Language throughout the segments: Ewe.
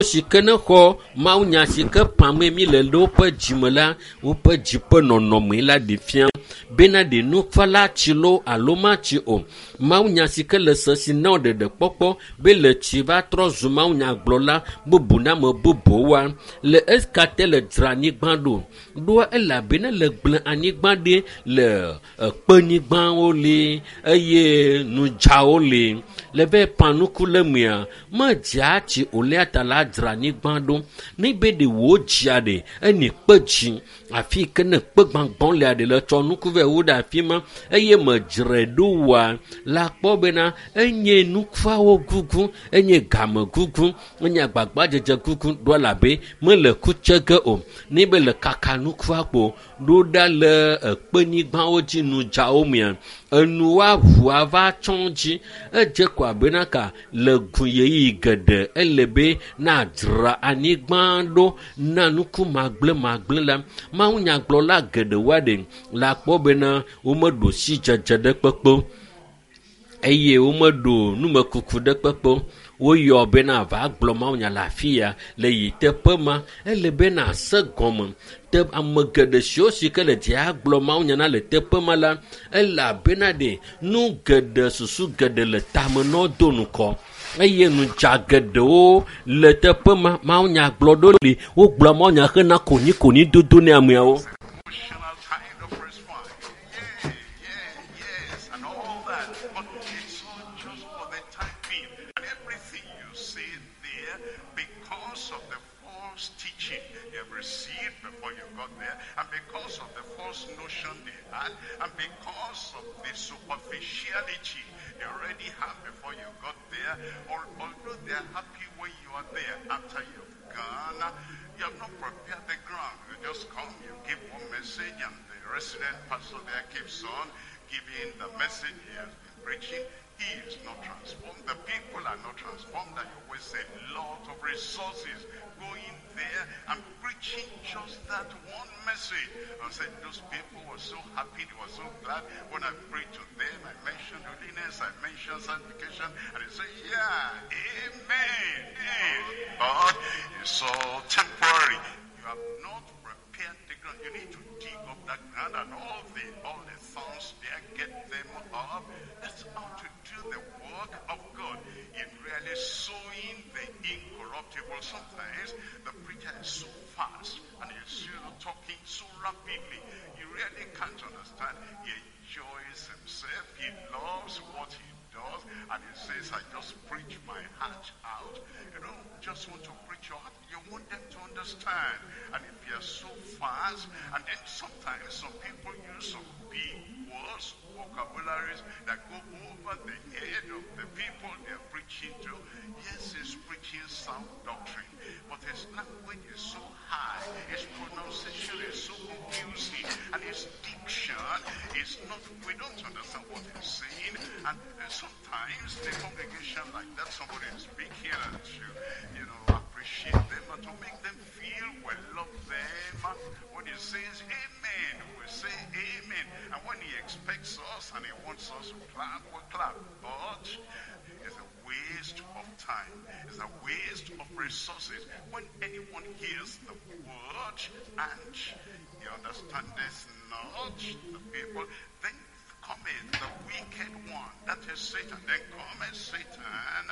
Si ke ne xɔ mawunya si ke pamee mi le le woƒe dzime la, woƒe dzi ƒe nɔnɔme la ɖi fia bena ɖe nufala tsi loo alo matsi o. Mawunya si ke le se si na wo ɖeɖekpɔkpɔ be le tsi va trɔ zu mawunyagblɔla bubu na ame bubuwoa, le eka te le dzra anyigba ɖo. Ɖoa elabena le gblẽ anyigba ɖi le ekpenyigbawo li eye nudzawo li. Le be panuku le mea, medzea tsi o lea ta la dzra anyigba ɖo. Ne be ɖe wò dzia ɖe, eni kpe dzi. Afi yi ke ne kpe gbagbɔ lea ɖe le tsɔ nuku vɛ wu ɖe afi ma eye medzrae ɖo oa, la kpɔ bena enye nukuawo gugu, enye game gugu, enye agbagbadzedze gugu ɖo elabe mele ku tse ge o. Ne be le kaka nukua kpo ɖo ɖa le ekpenyigbawo dzi nudzawo mea, enuwoa ʋua va tsɔ dzi. Edze ko abena ka le gu ɣeyiɣi geɖe ele be nadzra anyigba ɖo na nuku magblẽmagblẽ la. Mawunyagblɔla geɖewoa ɖe la kpɔ bena womeɖo sidzedze ɖe kpekpe o eye womeɖo numekuku ɖe kpekpe o. Woyɔ bena va gblɔ mawunya le afi ya le yi teƒe ma. Ele be nase gɔme. Te ame geɖe siwo si ke le dzia gblɔ mawunya na le teƒe ma la, elabena ɖe nu geɖe susu geɖe le tame na wo do ŋkɔ eye nudza geɖewo le teƒe ma. Mawunya gblɔ ɖo li wogblɔ mawunya hena konikoni dodo ne ameawo. Emotional kind of response. Yeah, yeah, yes, and all that. But it's all just for the time being. And everything you say there, because of the false teaching you have received before you got there, and because of the false notion they had, and because of the superficiality they already have before you got there, or although they are happy when you are there, after you've gone, you have not prepared the ground. You just come, you give one message, and the resident pastor there keeps on giving the message he has been preaching. He is not transformed. The people are not transformed. And you waste a lot of resources going there and preaching just that one message. I said, those people were so happy, they were so glad. When I preached to them, I mentioned holiness, I mentioned sanctification, and they say, yeah, amen. Amen. But it's all temporary. You have not prepared the ground. You need to dig up that ground and all the thorns there, get them up. That's how to do the work of God in really sowing the incorruptible. Sometimes the preacher is so fast and he's talking so rapidly, you really can't understand. He enjoys himself. He loves what he does, and he says, I just preach my heart out. You don't just want to preach your heart. You want them to understand. And if you're so fast, and then sometimes some people use some big words, vocabularies that go over the head of the people they're preaching to. Yes, he's preaching sound doctrine, but his language is so high, his pronunciation is so confusing, and his diction is not, we don't understand what he's saying. And sometimes the congregation like that, somebody is speaking and to, you know, appreciate them and to make them feel we love them. When he says amen, we say amen. And when he expects us and he wants us to clap, we clap. But it's a waste of time. It's a waste of resources. When anyone hears the word and he understands not the people, then cometh the wicked one, that is Satan. Then cometh Satan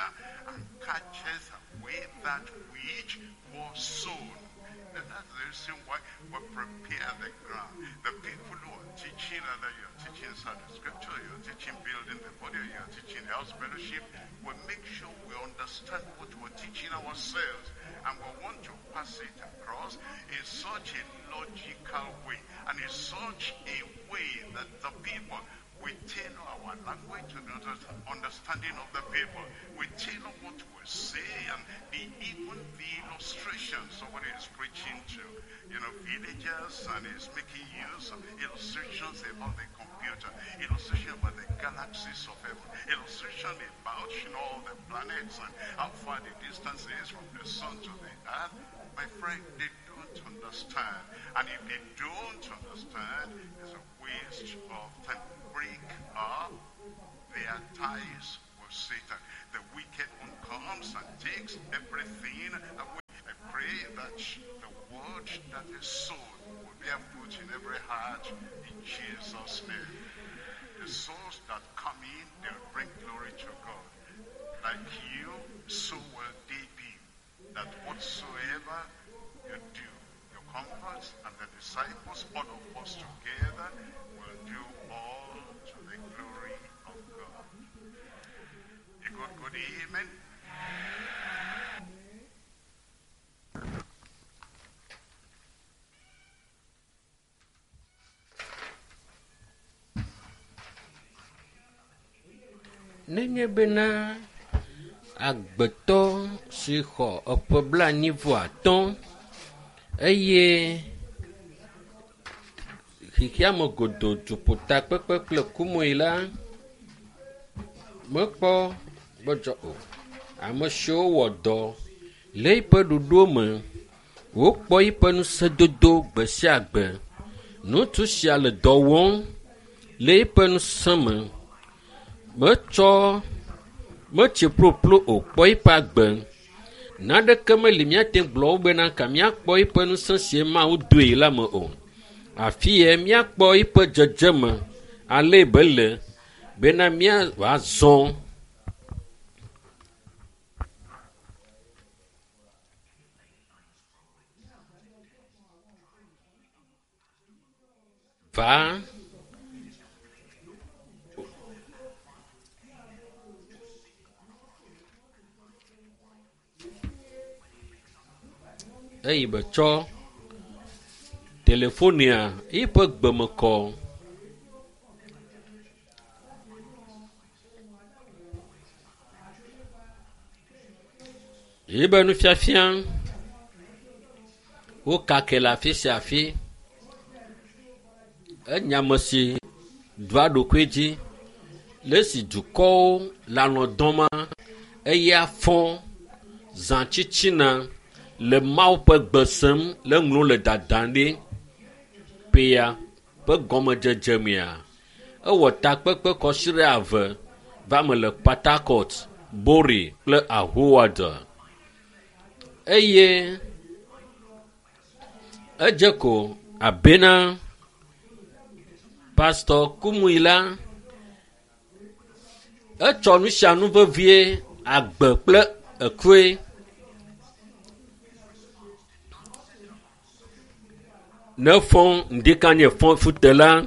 and catcheth away that which was sown. And that's the reason why we prepare the ground. The people who are teaching, either you're teaching inside the scripture, you're teaching building the body, or you're teaching house fellowship, we make sure we understand what we're teaching ourselves, and we want to pass it across in such a logical way, and in such a way that the people, we tailor our language to the understanding of the people. We tailor what we say, and even the illustration somebody is preaching to, you know, villagers, and is making use of illustrations about the computer, illustration about the galaxies of heaven, illustration about, you know, all the planets and how far the distance is from the sun to the earth. My friend, they don't understand. And if they don't understand, it's a waste of time. Break up their ties with Satan. The wicked one comes and takes everything away. that a soul will bear fruit in every heart in Jesus' name. The souls that come in, they'll bring glory to God. Like you, so will they be. That whatsoever you do, your comforts and the disciples, all of us together, will do all to the glory of God. A good, good amen. Nenye bena agbetɔ si xɔ eƒe 45 eye xexeame godoo duƒotakpekpe kple kumoe la mekpɔ gbɔdzɔ o. Ame siwo wɔ dɔ le eƒe ɖoɖo me wokpɔ eƒe ŋusẽdodo gbe sia gbe. Ŋutsu sia le dɔ wɔm le eƒe ŋusẽ me. Metsɔ metsi ƒoƒlo o kpɔ eƒe agbe. Naneke meli míate gblɔ wo bena ka míakpɔ eƒe ŋusẽ si Mawu doe la me o. Afi ya míakpɔ eƒe dzedzeme ale be le bena míazɔ. Va eyi be tsɔ telefonia eƒe gbeme kɔ. Yibe nufiafia wo kake le afi sia afi. Enye ame si ɖua ɖokui dzi le esi dukɔwo le alɔ dɔma eya fɔ zã tsitsina le Mawu ƒe gbe sem le ŋlɔ le dadam ɖi. Ƒea ƒe gɔmedzedze mea, ewɔ takpekpe kɔsiɖe ave va me le Port Harcourt, Bori kple Ahoada. Eye edze ko abena Pastor Kumuyi la etsɔ nu sia nu vevie agbe kple ekue. Ne fɔ ŋdikanye fɔ fute la,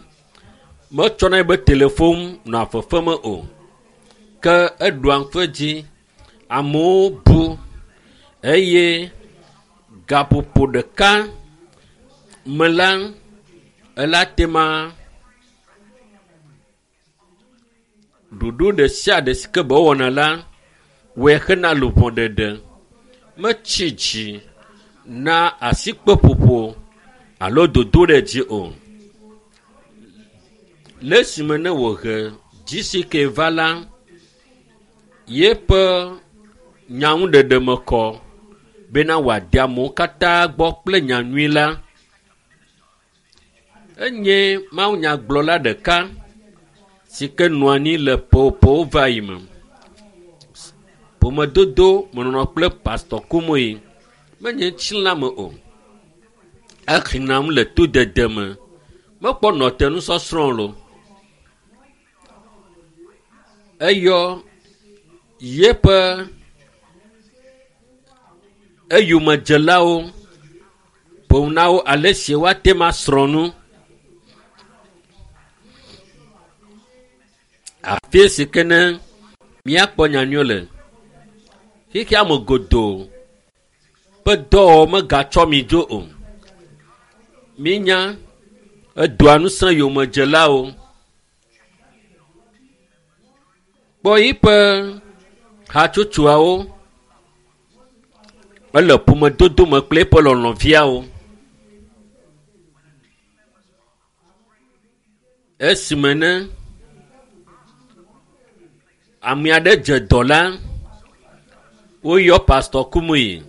metsɔna ebe telefon nɔa fefeme o. Ke eɖua ŋku dzi, amewo bu eye gaƒoƒo ɖeka me la, ela tema ɖoɖo ɖe sia ɖe si ke be wɔna la, wɔe hena luʋɔ ɖeɖe. Metsi dzi na asikpeƒoƒo alo dodo ɖe dzi o. Le esime ne wòhe GCK va la, yeƒe nyaŋuɖeɖe me kɔ bena wòade amewo katã gbɔ kple nyanyui la. Enye mawunyagblɔla ɖeka si ke nɔ anyi le ƒewo va yi me. Ƒomedodo menɔnɔ kple Pastor Kumuyi menye ŋutilã me o. Exinam le todede me. Mekpɔ nɔte nusɔsrɔ̃ lo. Eyɔ yeƒe eyomedzelawo ƒo na wo ale si woate ŋu asrɔ̃ nu. Afi si ke ne míakpɔ nyanyui le. Xexea me godoo ƒe dɔwɔwɔ megatsɔ mi dzo o. Mínya edoa ŋusẽ yomedzelawo. Kpɔ yiƒe hatsotsoawo. Ele ƒomedodo me kple eƒe lɔlɔ̃viawo. Esime ne ame aɖe dze dɔ la, woyɔ Pastor Kumuyi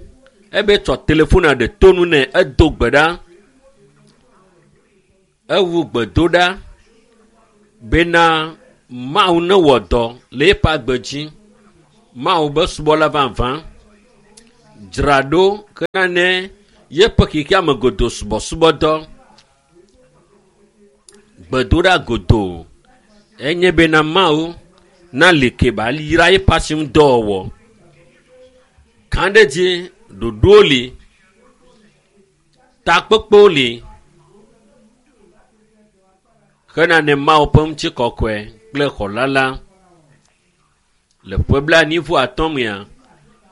ebe tsɔ telefona ɖe tonu nɛ edo gbe ɖa. Ewu gbedoɖa bena Mawu newɔ dɔ le eƒe agbe dzi. Mawu be subɔla vavã dzra ɖo hena ne Yeƒe xexeame godo subɔsubɔdɔ gbedoɖa godo enye bena Mawu nali ke ba yra eƒe asinudɔwɔwɔ. Kã ɖe dzi ɖoɖowo li, takpekpewo li hena ne Mawu ƒe ŋutikɔkɔe kple xɔla la. Le ƒe blaenyi-vɔ-atɔ̃ mea,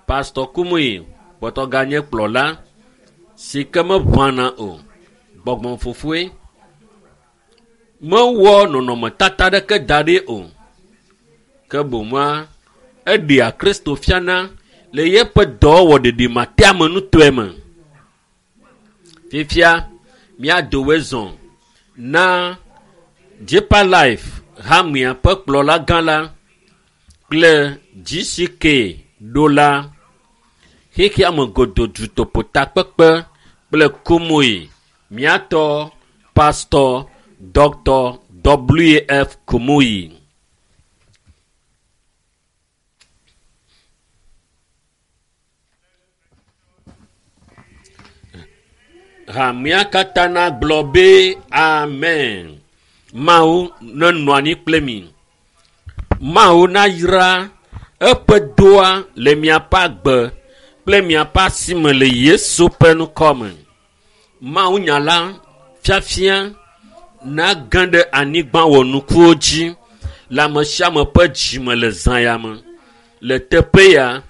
Pastor Kumuyi kpɔtɔ ganye kplɔla si ke meʋãna o. Gbɔgbɔ fofoe mewɔ nɔnɔmetata ɖeke da ɖi o. Ke boŋua, eɖea Kristo fiana le yeƒe dɔwɔwɔ ɖeɖimateamenutɔe me. Fifia, míado zɔ na Deeper Life hamea ƒe kplɔla gã la kple GCK ɖola xexeame godo dutoƒo takpekpe kple Kumuyi míatɔ Pastor Dr. W.F. Kumuyi. Hamea katã nagblɔ be amen. Mawu nenɔ anyi kple mi. Mawu nayra eƒe doa le miaƒe agbe kple miaƒe asime le Yesu ƒe ŋkɔ me. Mawu nya la fiafia nage ɖe anyigba wɔnukuwo dzi le ame sia ame ƒe dzime le zã ya me. Le teƒe ya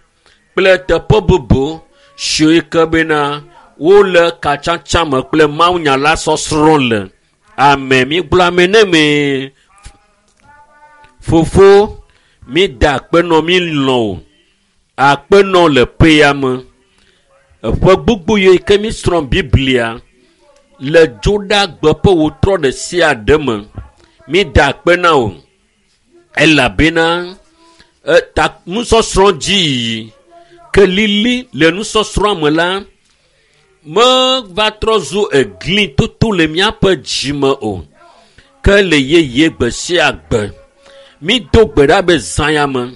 kple teƒe bubu siwo ke bena wole katsatsa me kple Mawu nya la sɔsrɔ̃ le. Amen. Migblɔ amen ne me. Fofo, mi da akpe nɔ mi lɔ̃ o. Akpe nɔ le ƒe ya me. Eƒe gbogbo yi ke mi srɔ̃ Biblia le dzoɖagbe ƒe wotrɔ ɖe sia ɖe me. Mi da akpe na o. Elabena eta nusɔsrɔ̃ dzi yiyi ke lili le nusɔsrɔ̃a me la meva trɔ zu egli toto le míaƒe dzime o. Ke le yeye gbe sia gbe. Mi do gbe ɖa be zã ya me.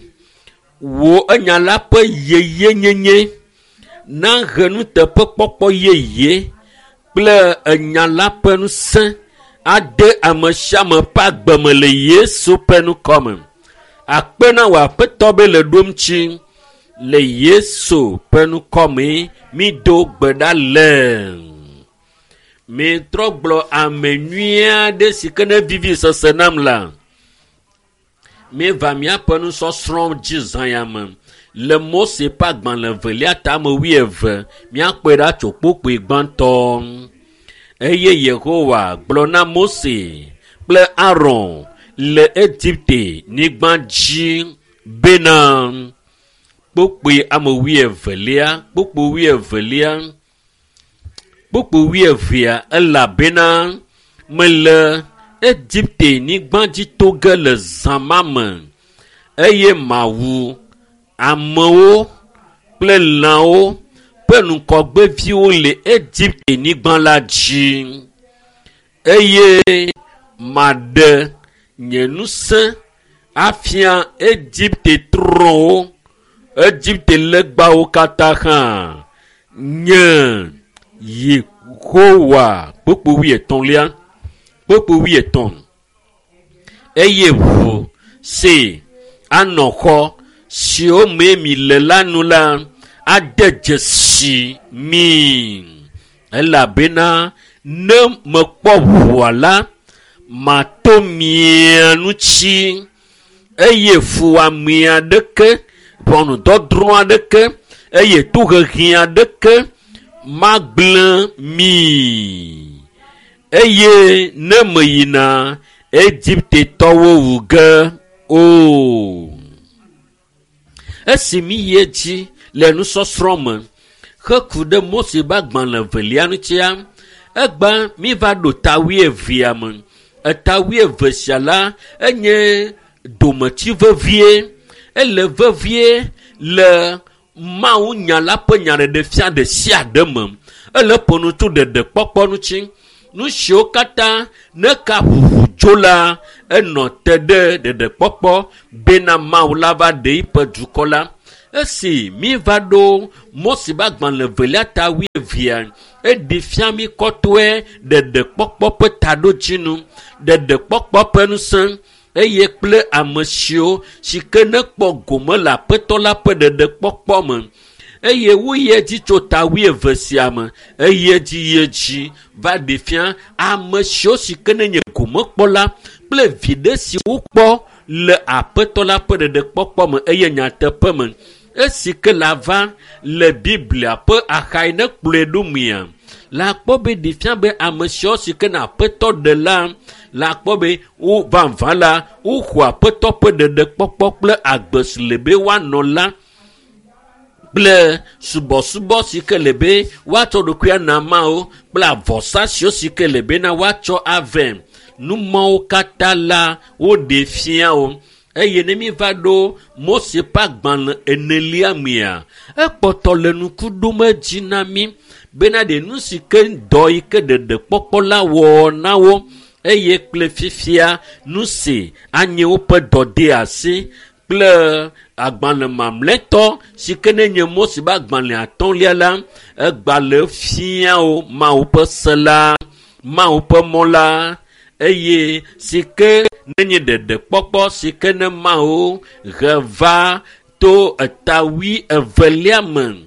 Wò enya la ƒe yeyenyenye nahe nuteƒekpɔkpɔ yeye kple enya la ƒe ŋusẽ ade ame sia ame ƒe agbe me le Yesu ƒe ŋkɔ me. Akpe na wò aƒetɔ be le ɖom tsi le Yesu ƒe ŋkɔ me mi do gbe ɖa le. Mitrɔ gblɔ ame nyui aɖe si ke ne vivi sese nam la. Míeva míaƒe nusɔsrɔ̃ dzi zã ya me le Mose ƒe agbalẽ evelia tame wuieve míakpɔe ɖa tso kpukpui gbãtɔ. Eye Yehowa gblɔ na Mose kple Aron le Egipte nyigba dzi bena kpukpui ame wuievelia, kpukpui wuievelia, kpukpui wuievea elabena mele Egipte nyigba dzi to ge le zã ma me eye mawu amewo kple lãwo ƒe ŋgɔgbeviwo le Egipte nyigba la dzi eye maɖe nye ŋusẽ afia Egipte trɔ̃wo, Egipte legbawo katã hã. Nye Yehowa kpukpui wuietɔ̃lia kpukpui wuietɔ̃ eye ʋu si anɔ xɔ siwo me mi le la nu la ade dzesi mi elabena ne mekpɔ ʋua la mato mia ŋuti eye fuwɔame aɖeke ʋɔnudɔdrɔ̃ aɖeke eye tohehe aɖeke magblẽ mi eye ne meyina Egiptetɔwo wu ge o. Esi mi yi edzi le nusɔsrɔ̃ me heku ɖe Mose ƒe agbalẽ evelia ŋutia, egba mi va ɖo ta wuievea me. Eta wuieve sia la enye dometsi vevie. Ele vevie le Mawu nya la ƒe nyaɖeɖefia ɖe sia ɖe me. Ele ƒo nu tso ɖeɖekpɔkpɔ ŋuti. Nu siwo katã ne ka ʋuʋu tso la, enɔ te ɖe ɖeɖekpɔkpɔ bena Mawu la va ɖe eƒe dukɔ la. Esi mi va ɖo Mose ƒe agbalẽ evelia ta wuieve. wuievea eɖi fia mi kɔtɔe ɖeɖekpɔkpɔ ƒe taɖodzinu, ɖeɖekpɔkpɔ ƒe ŋusẽ eye kple ame siwo si ke ne kpɔ gome le aƒetɔ la ƒe ɖeɖekpɔkpɔ me. Eye woyi edzi tso ta 20 sia me, eyi edzi yi edzi va ɖe fia ame siwo si ke ne nye gomekpɔla kple viɖe si wokpɔ le aƒetɔ la ƒe ɖeɖekpɔkpɔ me eye nyateƒe me. Esi ke la va le Biblia ƒe axa yi ne kplɔe ɖo mea, la kpɔ be ɖe fia be ame siwo si ke ne aƒetɔ ɖe la, la kpɔ be wo vavã la, woxɔ aƒetɔ ƒe ɖeɖekpɔkpɔ kple agbe si le be woanɔ la kple subɔsubɔ si ke le be woatsɔ ɖokuia na Mawu kple avɔsa siwo si ke le bena woatsɔ avɛ. Numɔwo katã la woɖe fia wo. Eye ne mi va ɖo Mose ƒe agbalẽ enelia mea, ekpɔtɔ le ŋku ɖom edzi na mi bena ɖe nu si ke dɔ yi ke ɖeɖekpɔkpɔ la wɔ na wo eye kple fifia nu si anye woƒe dɔdeasi kple agbalẽ mamlɛtɔ si ke ne nye Mose ƒe agbalẽ atɔ̃lia la, egbalẽ fia wo Mawu ƒe se la, Mawu ƒe mɔ la, eye si ke ne nye ɖeɖekpɔkpɔ si ke ne Mawu he va to eta 22 me.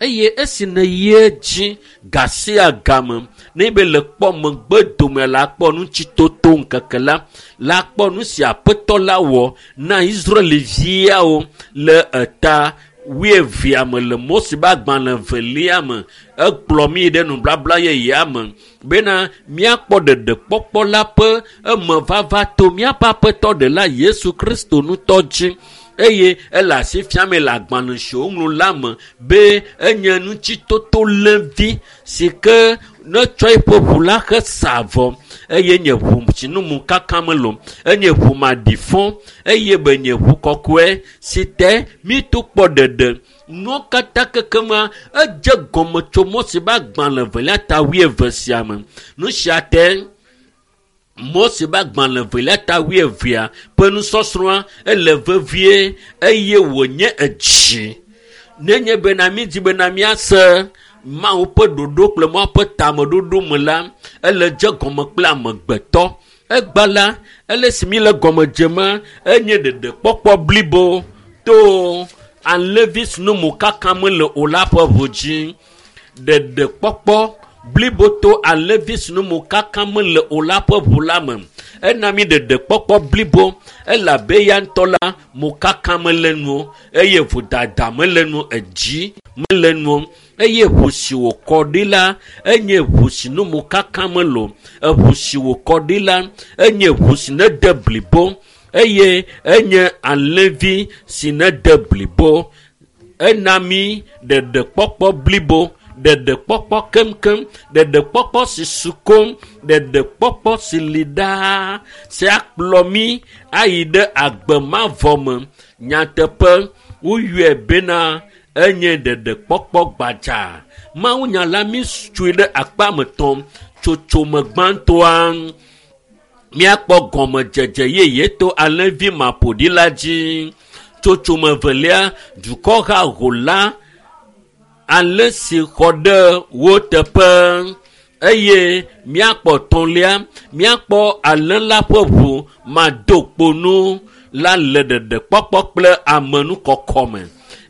Eye esi ne yi edzi ga sia game ne be le kpɔ megbe dome la kpɔ ŋutitoto ŋkeke la, la kpɔ nu si aƒetɔ la wɔ na Israelviawo le eta 20 me le Mose ƒe agbalẽ evelia me. Ekplɔ mi ɖe nubabla yeyea me bena míakpɔ ɖeɖekpɔkpɔ la ƒe emevava to míaƒe aƒetɔ ɖela Yesu Kristo ŋutɔ dzi. Eye ele asi fiame le agbalẽ si woŋlɔ la me be enye ŋutitoto lẽvi si ke ne tsɔ eƒe ʋu la he sa avɔ eye nye ʋu si nu mu kaka mele o, enye ʋu maɖifɔ eye be nye ʋu kɔkɔe si te míto kpɔ ɖeɖe. Nuwo katã kekema edze gɔme tso Mose ƒe agbalẽ evelia ta 20 sia me. Nu sia te Mose ƒe agbalẽ evelia ta 20 ƒe nusɔsrɔ̃a ele vevie eye wònye edzi. Nenye bena mídi bena míase Mawu ƒe ɖoɖo kple Mawu ƒe tameɖoɖo me la, ele dze gɔme kple amegbetɔ. Egba la, ele si mi le gɔme dzema, enye ɖeɖekpɔkpɔ blibo to alẽvi si nu mokaka mele o la ƒe ʋu dzi. Ɖeɖekpɔkpɔ blibo to alẽvi si nu mokaka mele o la ƒe ʋu la me. Ena mi ɖeɖekpɔkpɔ blibo elabe ya ŋutɔ la mokaka mele nu o, eye vodada mele nu o, edzi mele nu o. Eye ʋu si wòkɔ ɖi la enye ʋu si nu mokaka mele o. Eʋu si wòkɔ ɖi la enye ʋu si nede blibo eye enye alẽvi si nede blibo. Ena mi ɖeɖekpɔkpɔ blibo, ɖeɖekpɔkpɔ keŋkeŋ, ɖeɖekpɔkpɔ si su koŋ, ɖeɖekpɔkpɔ si li ɖaa si akplɔ mi ayi ɖe agbe mavɔ me. Nyateƒe woyɔe bena enye ɖeɖekpɔkpɔ gbadza. Mawunya la mi tsoe ɖe akpa me tɔm. Tsotsome gbãtɔa míakpɔ gɔmedzedze yeye to alẽvi maƒoɖi la dzi. Tsotsome evelia dukɔ haho la alẽ si xɔ ɖe wo teƒe eye míakpɔ tɔ̃lia míakpɔ alẽ la ƒe ʋu madokponu la le ɖeɖekpɔkpɔ kple amenukɔkɔ me.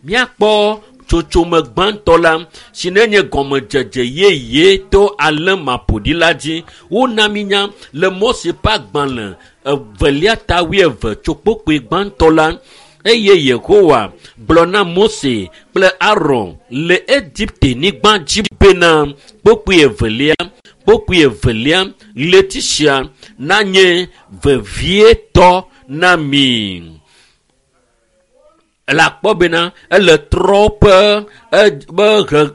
Míakpɔ tsotsome gbãtɔ la si nenye gɔmedzedze yeye to alẽ maƒoɖi la dzi. Wona mi nya le Mose ƒe agbalẽ evelia ta 20 tso kpokpoe gbãtɔ la. Eye Yehowa gblɔ na Mose kple Aron le Egipte nyigba dzi bena kpokpoe evelia ɣleti sia nanye vevietɔ na mi. Le akpɔ bena ele trɔ ƒe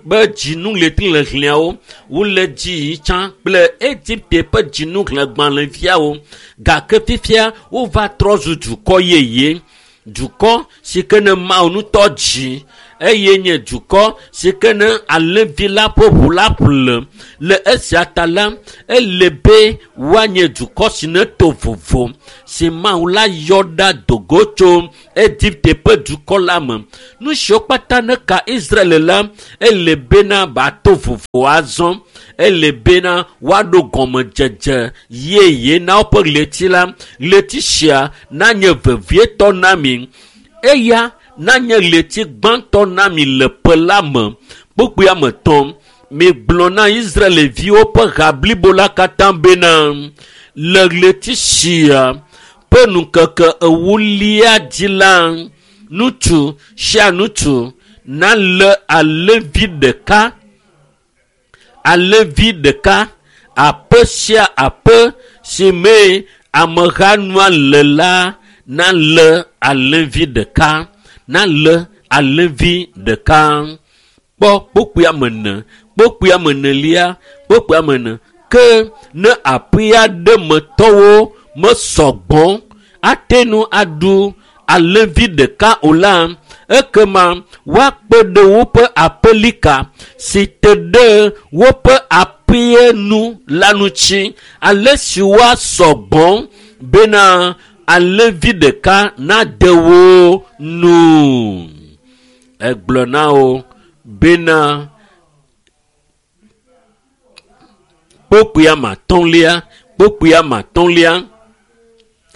be dzinu ɣleti hlẽhlẽawo wole dzi yi tsã kple Egipte ƒe dzinu hlẽgbalẽviawo gake fifia wova trɔ zu dukɔ yeye. Dukɔ si ke ne Mawu ŋutɔ dzi eye nye dukɔ si ke ne alẽvi la ƒe ʋu la ƒle. Le esia ta la, ele be woanye dukɔ si ne to vovo si Mawu la yɔ ɖa dogo tso Egipte ƒe dukɔ la me. Nu siwo kpata ne ka Israel la, ele bena bato vovo azɔ. Ele bena woaɖo gɔmedzedze yeye na woƒe ɣleti la. Ɣleti sia nanye vevietɔ na mi. Eya nanye ɣleti gbãtɔ na mi le ƒe la me. Kpukpui ame etɔ̃. Migblɔ na Israelviwo ƒe ha blibo la katã bena le ɣleti sia ƒe ŋkeke ewolia dzi la, ŋutsu sia ŋutsu nalé alẽvi ɖeka, alẽvi ɖeka, aƒe sia aƒe si mee ameha nua le la nalé alẽvi ɖeka, nalé alẽvi ɖeka. Kpɔ kpukpui ame ene, kpukpui ame enelia, kpukpui ame ene. Ke ne aƒe aɖe me tɔwo mesɔgbɔ ate ŋu aɖu alẽvi ɖeka o la, ekema woakpe ɖe woƒe aƒelika si te ɖe woƒe aƒea nu la ŋuti ale si woasɔgbɔ bena alẽvi ɖeka nade wo nu. Egblɔ na wo bena kpukpui ame atɔ̃lia, kpukpui ame atɔ̃lia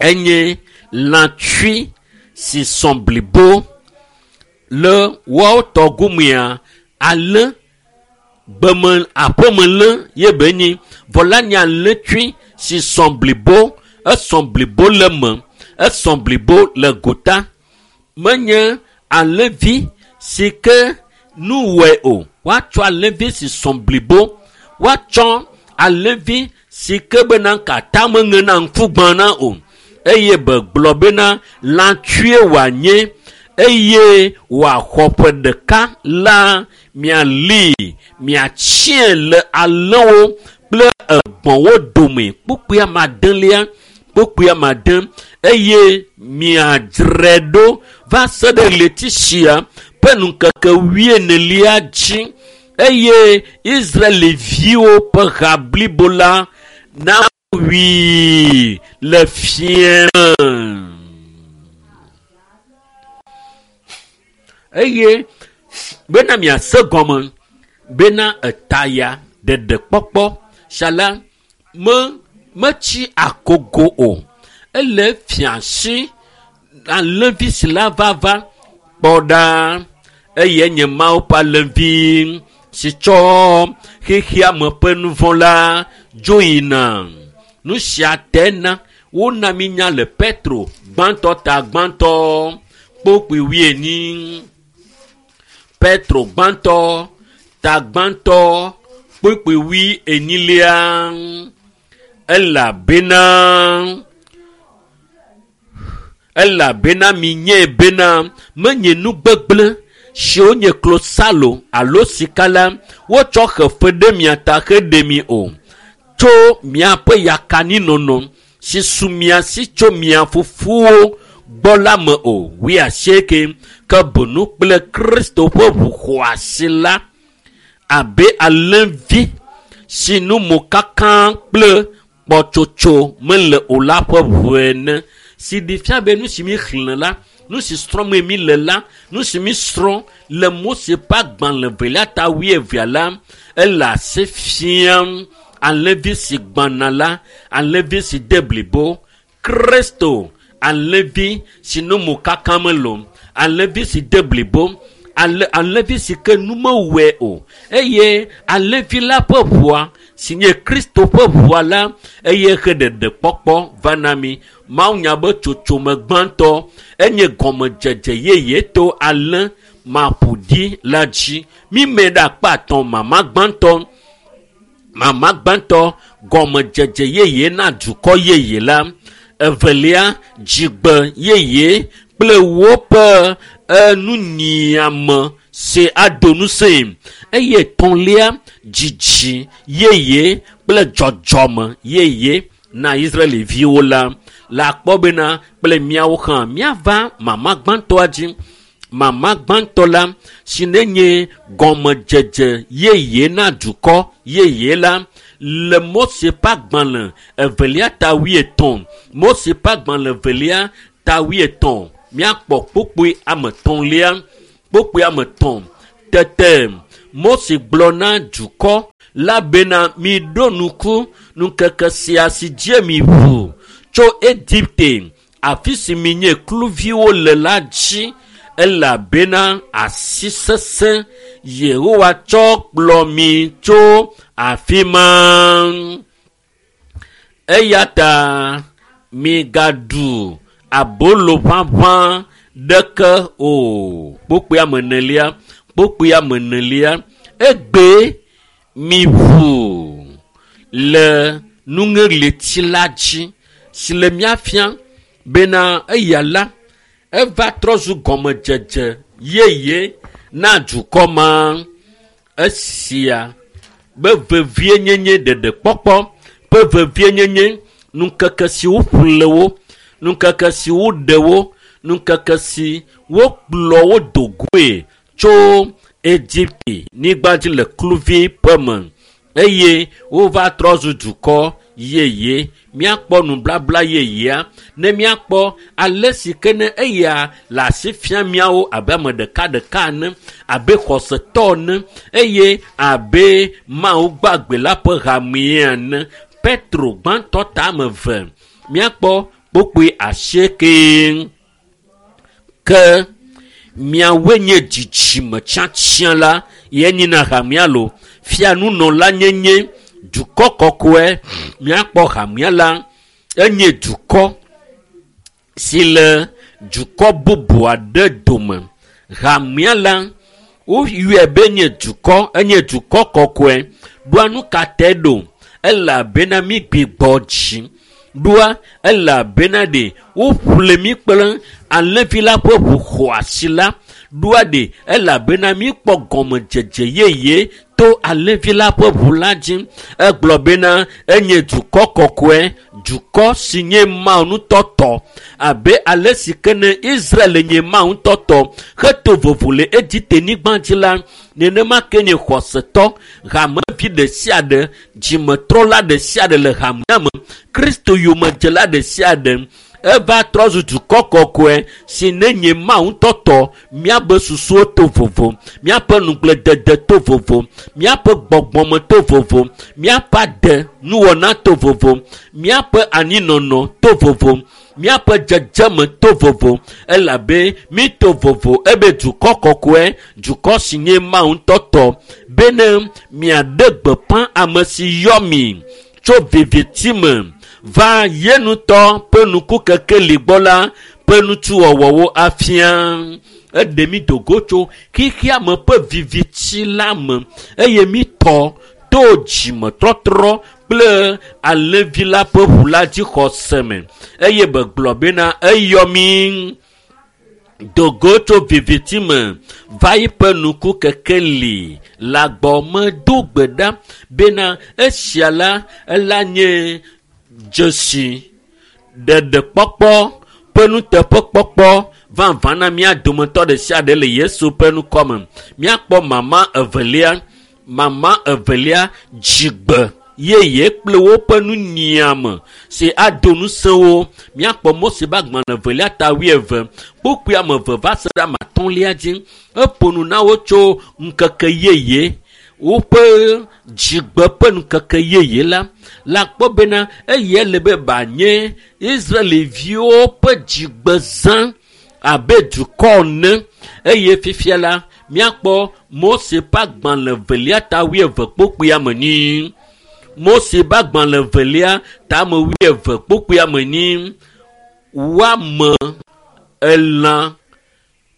enye lãtsui si sɔ blibo le woawo tɔ gomea alẽ gbeme aƒemelẽ ye be nyi vɔ la nye alẽtsui si sɔ blibo esɔ blibo le me esɔ blibo le gota menye alẽvi si ke nu wɔe o woatsɔ alẽvi si sɔ blibo woatsɔ alẽvi si ke bena katã meŋena ŋku gbãna o eye be gblɔ bena lãtsue wòanye eye wòaxɔ ƒe ɖeka la miali miatsiẽ le alẽwo kple egbɔ̃wo dome kpukpui ame adelia kpukpui ame ade eye miadzrae ɖo va se ɖe ɣleti sia ƒe ŋkeke wuienelia dzi eye Israelviwo ƒe ha blibo la nawui le fiẽ me. Eye bena miase gɔme bena eta ya ɖeɖekpɔkpɔ sia la me metsi akogo o. Ele fiasi alẽvi si la vava kpɔ ɖa eye nye Mawu ƒe alẽvi si tsɔ xexea me ƒe nu vɔ̃ la dzo yina. Nu sia te na wona mi nya le Petro gbãtɔ ta gbãtɔ kpukpui wuienyi. Petro gbãtɔ ta gbãtɔ kpukpui wuienyilia elabena elabena minyae bena menye nu gbegblẽ siwo nye klosalo alo sika la wotsɔ xe fe ɖe mia ta heɖe mi o tso miaƒe yakaninɔnɔ si su mia si tso mia fofowo gbɔ la me o wuiasieke ke benu kple Kristo ƒe ʋu xɔasi la abe alẽvi si nu mokaka kple kpɔtsotso mele o la ƒe ʋu ene si ɖi fia be nu si mi xlẽ la nu si srɔ̃m mi le la nu si mi srɔ̃ le Mose ƒe agbalẽ velia ta wuievea la ele asi fiam alẽvi si gbãna la alẽvi si de blibo Kristo alẽvi si nu mokaka mele o alẽvi si de blibo ale alẽvi si ke nu mewɔe o eye alẽvi la ƒe ʋua si nye Kristo ƒe ʋua la eye he ɖeɖekpɔkpɔ va na mi. Mawu nya be tsotsome gbãtɔ enye gɔmedzedze yeye to alẽ maƒoɖi la dzi. Mime ɖe akpa atɔ̃ mama gbãtɔ mama gbãtɔ gɔmedzedze yeye na dukɔ yeye la. Evelia dzigbe yeye kple woƒe enunyiame si ado ŋusẽe eye etɔ̃lia dzidzi yeye kple dzɔdzɔme yeye na Israelviwo la le akpɔ bena kple míawo hã míava mama gbãtɔa dzi. Mama gbãtɔ la si nenye gɔmedzedze yeye na dukɔ yeye la le Mose ƒe agbalẽ evelia ta 80. Mose ƒe agbalẽ evelia ta 80. Míakpɔ kpukpui ame etɔ̃lia, kpukpui ame etɔ̃. Tete Mose gblɔ na dukɔ la bena miɖo ŋku ŋkeke sia si dzi mi ʋu tso Egipte, afi si minye kluviwo le la dzi, elabena asi sesẽ Yehowa tsɔ kplɔ mi tso afi ma. Eya ta migaɖu abolo ʋaʋã ɖeke o. Kpukpui ame enelia, kpukpui ame enelia. Egbe mi ʋu le nuŋeɣleti la dzi si le mía fia bena eya la eva trɔ zu gɔmedzedze yeye na dukɔ ma. Esia be vevienyenye ɖeɖekpɔkpɔ ƒe vevienyenye, ŋkeke si woƒle wo, ŋkeke si woɖe wo, ŋkeke si wokplɔ wo do goe tso Egipte nyigba dzi le kluvi ƒe me eye wova trɔ zu dukɔ yeye. Míakpɔ nublabla yeyea ne míakpɔ ale si ke ne eya le asi fia míawo abe ame ɖekaɖeka ene, abe xɔsetɔ ene eye abe Mawu gbagbe la ƒe hamea ene. Petro gbãtɔ ta ame eve, míakpɔ kpukpui asieke. Ke miawoe nye dzidzime tiatia la, ye nyina hamea lo, fianunɔla nyenye, dukɔ kɔkɔe. Míakpɔ hamea la, enye dukɔ si le dukɔ bubu aɖe dome. Hamea la, woyɔe be nye dukɔ, enye dukɔ kɔkɔe. Ɖoa nu ka te ɖo? Elabena mi gbigbɔ dzi. Ɖoa elabena ɖe woƒle mi kple alẽvi la ƒe ʋu xɔasi la. Ɖoa ɖe elabena mi kpɔ gɔmedzedze yeye to alẽvi la ƒe ʋu la dzi. Egblɔ bena enye dukɔ kɔkɔe, dukɔ si nye Mawu ŋutɔ tɔ, abe ale si ke ne Israel nye Mawu ŋutɔ tɔ heto vovo le Egipte nyigba dzi la, nenema ke nye xɔsetɔ, hamevi ɖe sia ɖe, dzimetrɔla ɖe sia ɖe le hamea me, Kristo yomedzela ɖe sia ɖe, eva trɔ zu dukɔ kɔkɔe si ne nye Mawu ŋutɔ tɔ. Míaƒe susuwo to vovo, míaƒe nugledede to vovo, míaƒe gbɔgbɔme to vovo, míaƒe ade nuwɔna to vovo, míaƒe anyinɔnɔ to vovo, míaƒe dzedzeme to vovo, elabe mi to vovo ebe dukɔ kɔkɔe, dukɔ si nye Mawu ŋutɔ tɔ, bene miaɖe gbeƒã ame si yɔ mi tso viviti me va ye ŋutɔ ƒe nukukekeli gbɔ la ƒe nutsuwɔwɔwo afia. Eɖe mi do go tso xexea me ƒe viviti la me eye mi tɔ to dzimetɔtrɔ kple alẽvi la ƒe ʋu la dzixɔse me eye begblɔ bena eyɔ mi do go tso viviti me va yiƒe nukukekeli la gbɔ. Medo gbe ɖa bena esia la ela nye dzesi ɖeɖekpɔkpɔ ƒe nuteƒekpɔkpɔ vavã na mía dometɔ ɖe sia ɖe le Yesu ƒe ŋkɔme. Míakpɔ mama evelia, mama evelia dzigbe yeye kple woƒe nunyiame si ado ŋusẽ wo. Míakpɔ Mose ƒe agbalẽ evelia ta 20 kpukpui ame eve va se ɖe ame atɔ̃lia dzi. Eƒo nu na wo tso ŋkeke yeye, woƒe dzigbe ƒe ŋkeke yeye la. La kpɔ bena eya le be banye Israelviwo ƒe dzigbezã abe dukɔ ene. Eye fifia la míakpɔ Mose ƒe agbalẽ evelia ta 20 kpukpui ame enyi. Mose ƒe agbalẽ evelia ta ame 20 kpukpui ame enyi. Woame elã,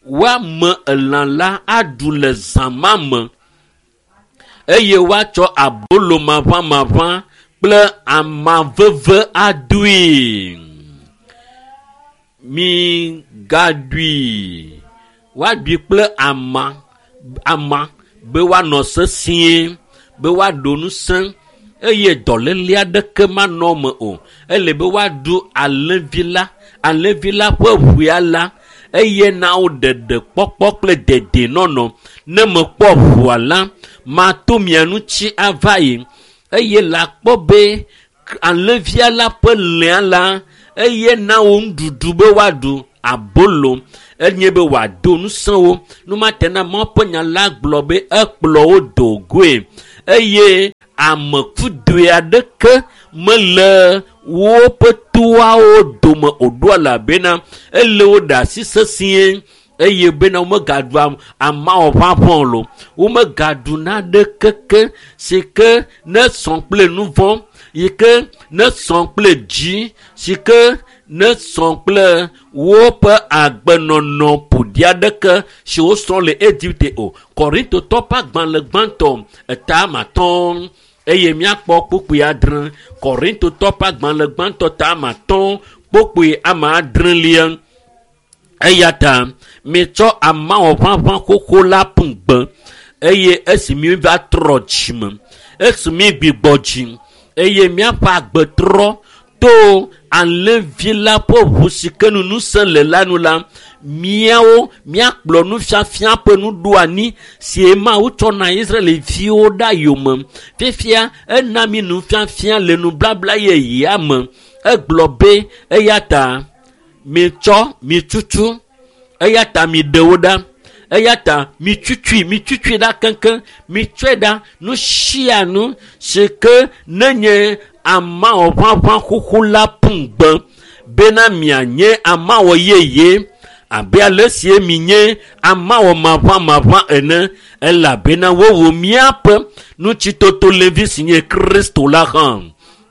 woame elã la aɖu le zã ma me eye woatsɔ abolo maʋamaʋã kple ama veve adoe. Migaɖui, woaɖui kple ama, ama be woanɔ sesĩe, be woaɖo ŋusẽ eye dɔléle aɖeke manɔ eme o. Ele be woaɖu alẽvi la, alẽvi la ƒe ʋua la. eye na wo ɖeɖe kpɔkpɔ kple dedenɔnɔ. Ne mekpɔ ʋua la, mato mia ŋuti ava yi eye le akpɔ be alẽvia la ƒe lẽa la eye na wo nuɖuɖu be woaɖu abolo enye be wòado ŋusẽ wo. Numate na Mawu ƒe nya la gblɔ be ekplɔ wo do goe eye ame kudoe aɖeke mele woƒe toawo dome o ɖo elabena ele wo ɖe asi sesĩe eye bena womegaɖu amawɔ ʋaʋã o, womegaɖu naɖekeke si ke ne sɔ kple nu vɔ̃ yi ke ne sɔ kple dzi si ke ne sɔ kple woƒe agbenɔnɔ ƒoɖi aɖeke si wosrɔ̃ le Egipte o. Korintotɔ ƒe agbalẽ gbãtɔ eta 5 eye míakpɔ kpukpui 6. Korintotɔ ƒe agbalẽ gbãtɔ ta 5 kpukpui 6. Eya ta mitsɔ amawɔ ʋaʋã xoxo la ƒu gbe eye esi mi va trɔ dzime, esi mi gbigbɔ dzi eye míaƒe agbe trɔ to alẽvi la ƒe ʋu si ke nu ŋusẽ le la nu la, míawo míakplɔ nufiafia ƒe nuɖoanyi si Mawu tsɔ na Israelviwo ɖa yome. Fifia ena mi nufiafia le nubabla yeyea me. Egblɔ be eya ta mitsɔ mitutu, eya ta miɖe wo ɖa, eya ta mitutui ɖa keŋkeŋ, mitsɔe ɖa nu sia nu si ke nenye amawɔ ʋaʋã xoxo la ƒu gbe bena mianye amawɔ yeye abe ale si minye amawɔ maʋãmaʋã ene, elabena wowu míaƒe ŋutitotolevi si nye Kristo la hã.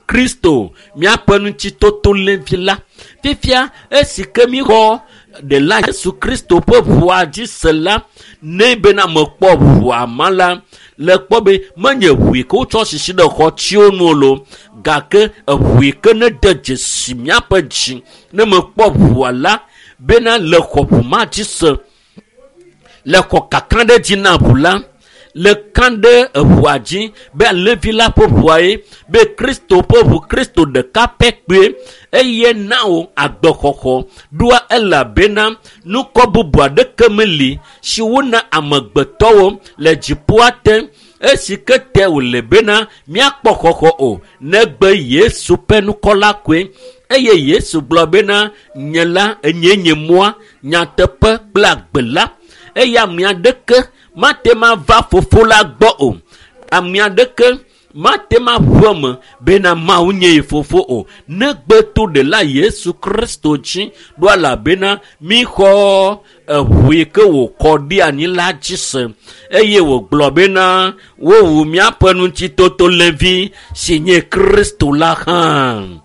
Kristo míaƒe ŋutitotolevi la. Fifia esi ke míxɔ ɖela Yesu Kristo ƒe ʋua dzi se la, ne bena mekpɔ ʋua ma la, le kpɔ be menye ʋu yi ke wotsɔ sisi ɖe xɔtiwo nu o lo, gake eʋu yi ke ne de dzesi míaƒe dzi ne mekpɔ ʋua la, bena le xɔ ʋu ma dzi se, le xɔ kaka ɖe dzi na ʋu la, le ka ɖe eʋua dzi be alẽvi la ƒe ʋua ye, be Kristo ƒe ʋu, Kristo ɖeka pɛ kpɔe eye na wo agbexɔxɔ ɖoa, elabena nukɔ bubu aɖeke meli si wona amegbetɔwo le dziƒoa te esi ke te wòle bena míakpɔ xɔxɔ o, negbe Yesu ƒe nukɔ la koe. Eye Yesu gblɔ bena nye la enye nye mɔa, nyateƒe kple agbe la, eye ame aɖeke mate ma va fofo la gbɔ o. Ame aɖeke mate ma ʋu eme bena Mawu nye ye fofo o, negbe to ɖela Yesu Kristo dzi ɖo, elabena míxɔ eʋu yi ke wòkɔ ɖi anyi la dzi se eye wògblɔ bena wowu míaƒe ŋutitotolevi si nye Kristo la hã.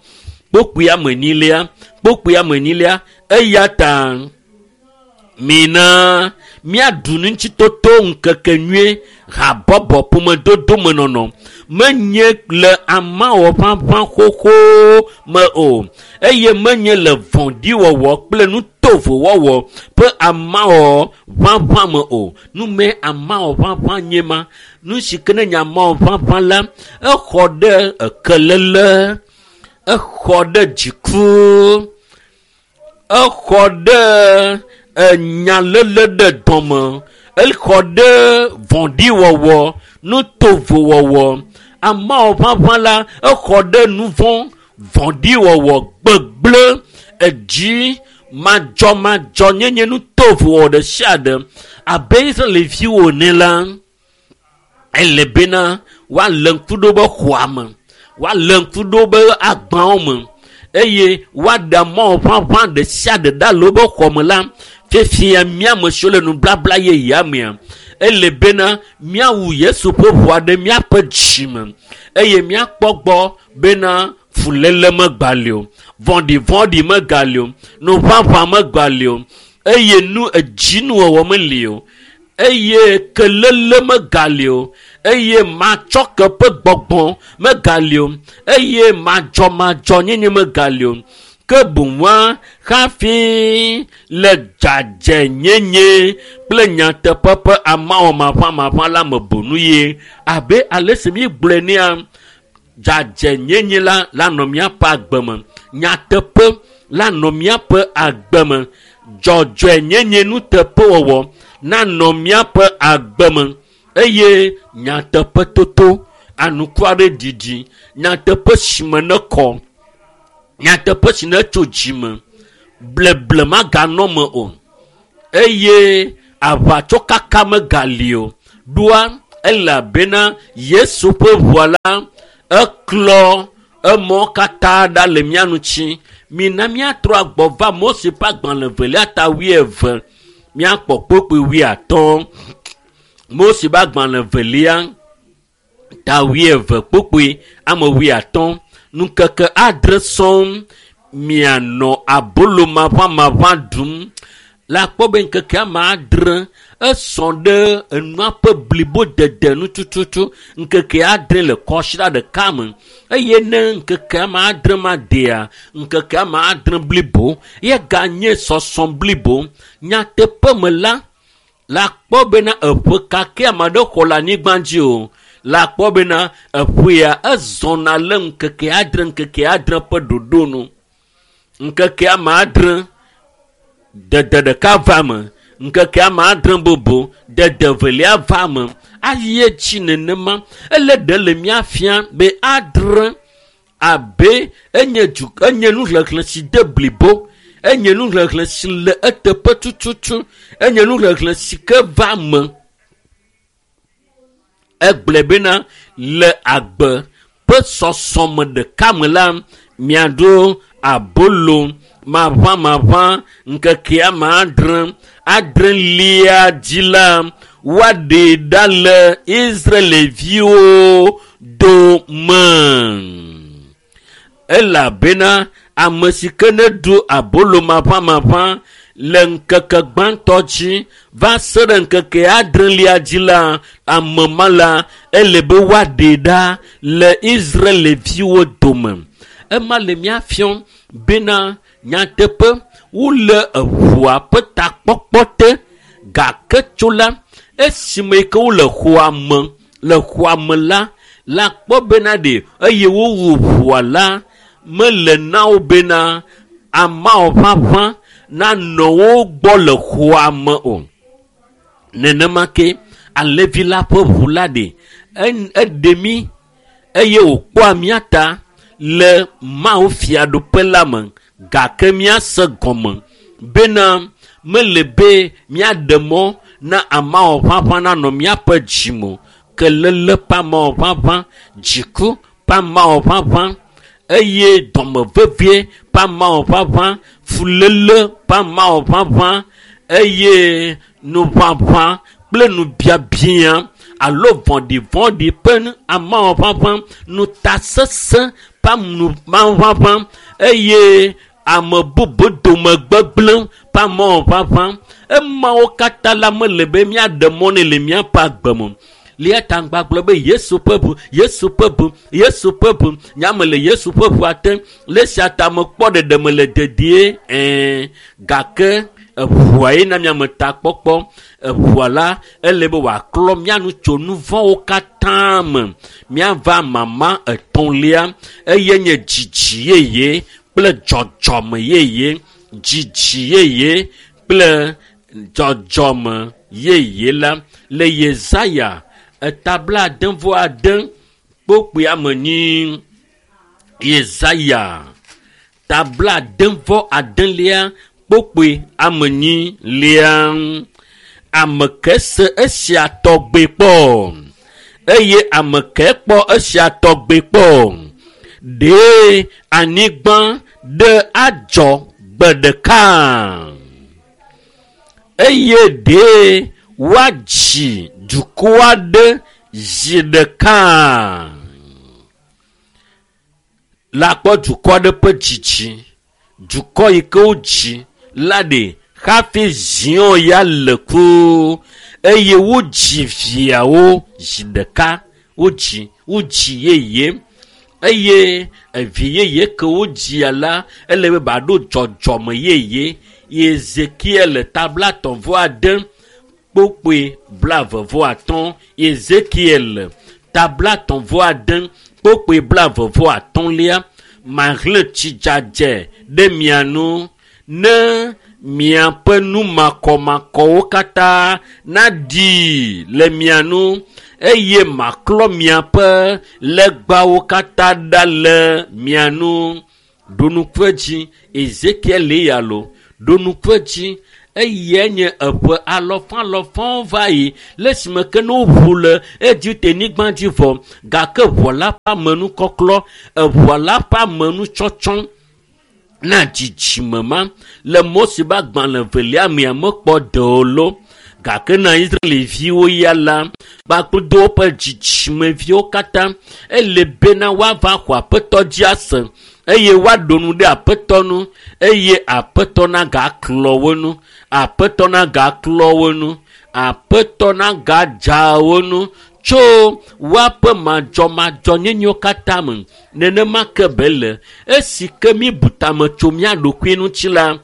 Kpukpui ame 4, eya ta mina míaɖu ŋutitoto ŋkeke nyui habɔbɔ ƒomedodo me nɔnɔ menye le amawɔ ʋaʋã xoxo me o, eye menye le vɔ̃ɖiwɔwɔ kple nutovowɔwɔ ƒe amawɔ ʋaʋã me o. Nume amawɔ ʋaʋã nye ma. Nu si ke ne nye amawɔ ʋaʋã la, exɔ ɖe ekelele, exɔ ɖe dziku, exɔ ɖe enyalele ɖe dɔme, exɔ ɖe vɔ̃ɖiwɔwɔ, nutovowɔwɔ. Amawɔ ʋaʋã la, exɔ ɖe nuvɔ̃, vɔ̃ɖiwɔwɔ, gbegblẽ, edzi, madzɔmadzɔnyenye, nutovowɔwɔ ɖe sia ɖe. Abe Israelviwo ene la, ele bena woalé ŋku ɖo be xɔa me, woalé ŋku ɖo be agbawo me, eye woaɖe amawɔ ʋaʋã ɖe sia ɖe ɖa le woƒe xɔ me la. Fifia míame siwo le nubabla yeyea mea, ele bena míawu Yesu ƒe ʋua ɖe míaƒe dzime eye míakpɔ gbɔ bena fuléle megali o, vɔ̃ɖivɔ̃ɖi megali o, nuʋaʋã megali o, eye nu edzinuwɔwɔ meli o, eye kelele megali o, eye matsɔke ƒe gbɔgbɔ megali o, eye madzɔmadzɔnyenye megali o. Ke boŋua hafi le dzadzɛnyenye kple nyateƒe ƒe amawɔ maʋamaʋã la me bonu ye. Abe ale si míegblɔe nea, dzadzɛnyenye la lanɔ míaƒe agbe me, nyateƒe lanɔ míaƒe agbe me, Dzɔdzɔenyenye nuteƒewɔwɔ nanɔ míaƒe agbe me eye nyateƒetoto anukware ɖiɖi, nyateƒe si me nekɔ, nyateƒe si netso dzime, bleble maganɔ me o eye aʋatsokaka megali o. Ɖoa elabena Yesu ƒe ʋua la eklɔ emɔ katã ɖa le mía ŋuti. Mina míatrɔ agbɔ va Mose ƒe agbalẽ evelia ta 20, míakpɔ kpukpui 50. Mose ƒe agbalẽ evelia ta 20 kpukpui ame 50. Ŋkeke 7 sɔŋ mianɔ abolo maʋamaʋã ɖum. Le akpɔ be ŋkeke ame 7 esɔ ɖe enua ƒe blibo dede nu tututu. Ŋkeke 7 le kɔsiɖa ɖeka me eye ne ŋkeke ame 7 ma dea, ŋkeke ame 7 blibo ye ganye sɔsɔ blibo. Nyateƒe me la, le akpɔ bena eƒe kake ame aɖe xɔ le anyigba dzi o. Le akpɔ bena eƒea ezɔna le ŋkeke 7, ŋkeke 7 ƒe ɖoɖo nu. Ŋkeke ame 7 dede ɖeka va me, ŋkeke ame 7 bubu dede evelia va me. Ayi edzi nenema. Ele ɖe le mía fia be 7 abe enye du, enye nuxexlẽ si de blibo, enye nuxexlẽ si le eteƒe tututu, enye nuxexlẽ si ke va me. Egblɔe bena le agbe ƒe sɔsɔme ɖeka me la, miaɖo abolo maʋamaʋã ŋkeke ame 7, adrelia dzi la, woaɖee ɖa le Israelviwo dome. Elabena ame si ke neɖu abolo maʋamaʋã le ŋkeke gbãtɔ dzi va se ɖe ŋkeke adrelia dzi la, ame ma la, ele be woaɖee ɖa le Israelviwo dome. Ema le mía fiɔm bena nyateƒe wole eʋua ƒe takpɔkpɔ te, gake tso la, esime yi ke wole xɔa me, le xɔa me la, la kpɔ bena ɖe eye wowu ʋua la, mele na wo bena amawo ʋaʋã nanɔ wo gbɔ le xɔa me o. Nenema ke alẽvi la ƒe ʋu la ɖe, eɖe mí eye wòkpɔa mía ta le Mawu fiaɖuƒe la me, gake míase gɔme bena mele be míaɖe mɔ na amawo ʋaʋã nanɔ míaƒe dzime o. Kelele ƒe amawo ʋaʋã, dziku ƒe amawo ʋaʋã, eye dɔmevevie ƒe amawo ʋaʋã, fuléle ƒe amawo ʋaʋã, eye nuʋaʋã kple nubiabia alo vɔ̃ɖivɔ̃ɖi ƒe amawo ʋaʋã, nutasesẽ ƒe amawo ʋaʋã, eye ame bubu dome gbegblẽ ƒe amawo ʋaʋã. Emawo katã la mele be míaɖe mɔ nɛ le míaƒe agbe me. Lia ta ŋgba gblɔ be Yesu ƒe ʋu, Yesu ƒe ʋu, Yesu ƒe ʋu. Nyame le Yesu ƒe ʋua te. Le esia ta mekpɔ ɖeɖe me le dedie. Gake eʋua ye na miame takpɔkpɔ. Eʋua la, ele be wòaklɔ mía nu tso nu vɔ̃wo katã me. Míava mama etɔ̃lia, eye nye dzidzi yeye kple dzɔdzɔme yeye. Dzidzi yeye kple dzɔdzɔme yeye la le Yesaya etabla ade vɔ ade kpokpui ame nyi. Yesaya tabla ade vɔ adelia kpokpui ame nyi lia. Ame ke se esia tɔgbe kpɔ eye ame ke kpɔ esia tɔgbe kpɔ. Ɖe anyigba ɖe adzɔ gbe ɖeka eye ɖe woadzi dukɔ aɖe zi ɖeka. Le akpɔ dukɔ aɖe ƒe dzidzi, dukɔ yi ke wodzi la ɖe hafi ziɔ ya le ku eye wodzi viawo zi ɖeka. Wodzi, wodzi yeye eye evi yeye ke wodzia la, ele be baɖo dzɔdzɔme yeye. Ezekiel tabla etɔ̃ vɔ ade kpokpoe blaeve vɔ atɔ̃. Ezekiel tabla etɔ̃ vɔ ade kpokpoe blaeve vɔ atɔ̃lia. Mahlẽ tsi dzadze ɖe mia nu ne miaƒe nu makɔmakɔwo katã naɖi le mia nu eye maklɔ miaƒe legbawo katã ɖa le mia nu. Ɖo ŋku edzi Ezekiel ya lo, ɖo ŋku edzi eyae nye eƒe alɔfalɔfawo va yi le esime ke ne woʋu le Egipte nyigba dzi vɔ gake ʋɔ la ƒe amenukɔklɔ, eʋua la ƒe amenutsɔtsɔ na dzidzime ma le Mose ƒe agbalẽ evelia mea mekpɔ ɖe o lo. Gake na Israelviwo ya la kpakple woƒe dzidzimeviwo katã ele bena woava xɔ aƒetɔ dzi ase eye woaɖo nu ɖe aƒetɔ nu eye aƒetɔ nagaklɔ wo nu, aƒetɔ nagaklɔ wo nu, aƒetɔ nagadza wo nu tso woaƒe madzɔmadzɔnyenyewo katã me. Nenema ke be le esi ke mi bu tame tso mía ɖokui ŋuti la,